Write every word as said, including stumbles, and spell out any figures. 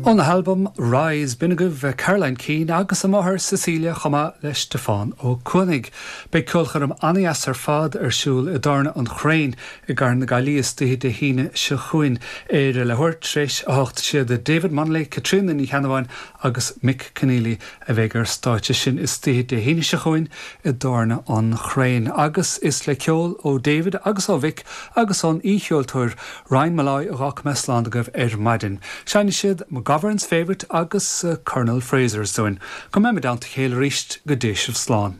Óna halbam Rise b'in agaibh Caroline Keane agus a máthair Cecilia chomh maith le Stiofán Ó Cuanaigh. Beidh ceolchoirm an-deas ar fad ar siúl i dTábhairne an Chrainn i gCathair na Gaillimhe istoíche Dé hAoine seo chugainn ar a leathuair tar éis a hocht siad David Munnelly, Caitríona Ní Cheannabháin agus Mick Keneally a bheidh ar stáitse sin istoíche Dé hAoine seo chugainn i dTábhairne an Chrainn. Agus is le ceol ó David agus ó Mhick agus ón aoicheoltóir Ryan Molloy a d'fhág mé slán agaibh ar maidin. Seinnfidh siad McGovern's Favourite agus uh, Colonel Fraser's dúinn. Go mbeimid i dteannta a chéile arís go dté sibh slán.